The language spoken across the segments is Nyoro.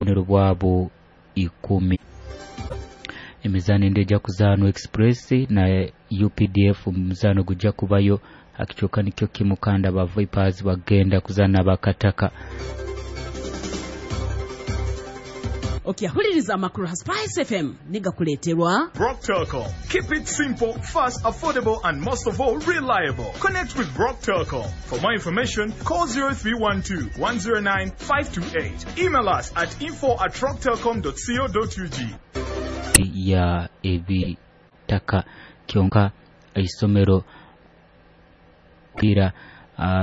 Obubonero bwabo 10. Emizaano endi ejja kuzaanwa, Express na UPDF, omuzaano gujja kubayo akicooka nikyo kimu, kandi aba Vipers bagenda kuzaana abakataka. Okyahuliriza amakuru ha Spice FM nigakuleeterwa Brock Telcom. Keep it simple, fast, affordable, and most of all, reliable. Connect with Brock Telcom. For more information, call 0312 109 528. Email us at info@rocktelcom.co.ug. Ya ebitaka kyonka isomero pira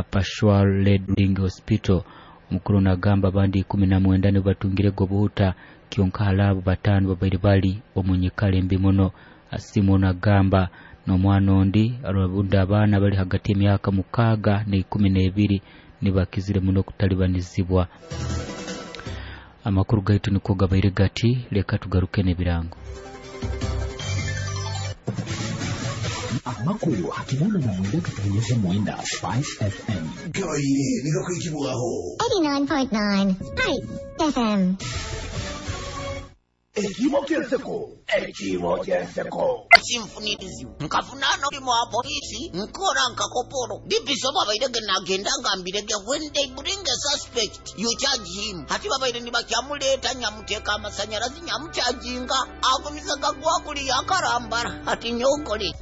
Peshawar Reading Hospital. Omukuru nagamba abandi 19 nibo batungire obuhuta, kyonka hali 5 babaire bali omu nyikara embi muno. Asimu nagamba n'omwana ondi ababundi abaana bali hagati y'emyaka 6 na 12 nibakizire muno kutalibanizibwa. Amakuru gaitu niko gabaire gati, leka tugaruke n'ebirango. Amakuru hakinana na mwenda katonyeza mwenda Spice FM. Gabaire nigakwikibwaho. 89.9 Spice FM. Ekimo kyenseko, ekimo kyenseko. Sinfunirizibu nkafunana omulimu wa polisi, nkora nka koporo dipiso. Babaire ge nagenda nga mbirege, when they bring a suspect, you charge him. Hati babaire nibakyamuleeta, nyamuteeka amasanyarazi, nyamukyajinga, agumisa gagwa kuliya akarambara ati nyokole.